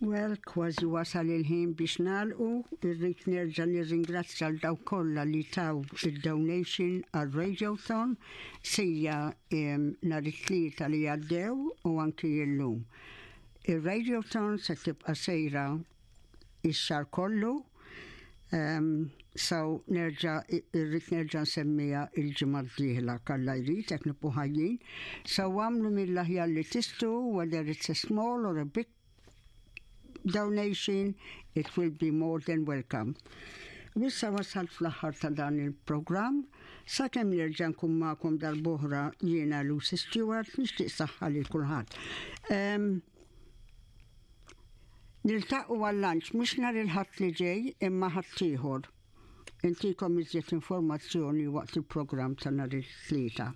Well, kważi wasal il-ħin biex nagħlqu, irrid nerġa' nirringrazzja l dawk kollha li taw id-donation għal Radiothon sija nhar it-tlieta li għaddew u anki illum. Ir-Radiothon se tibqa' sejra ix-xahar kollu, so nerġa' irrid nerġa' nsemmiha il-ġimgħa d-dieħla kalla jrid jekk nibqgħu ħajjin. So għamlu mill-aħjar li tistgħu whether it's a small or a big donation, it will be more than welcome. Wissa wasalt fl-aħħar ta' dan il-programm, sakemm nerġa' nkun magħkom darb'oħra jiena Lucy Stewart nixtieq saħħa lil kulħadd. Um, Niltaqgħu għal-lunch mhux nhar il-Ħadd li ġej imma ħadd ieħor. Intikom iżjed informazzjoni waqt il-programm ta' nhar it-Tlieta.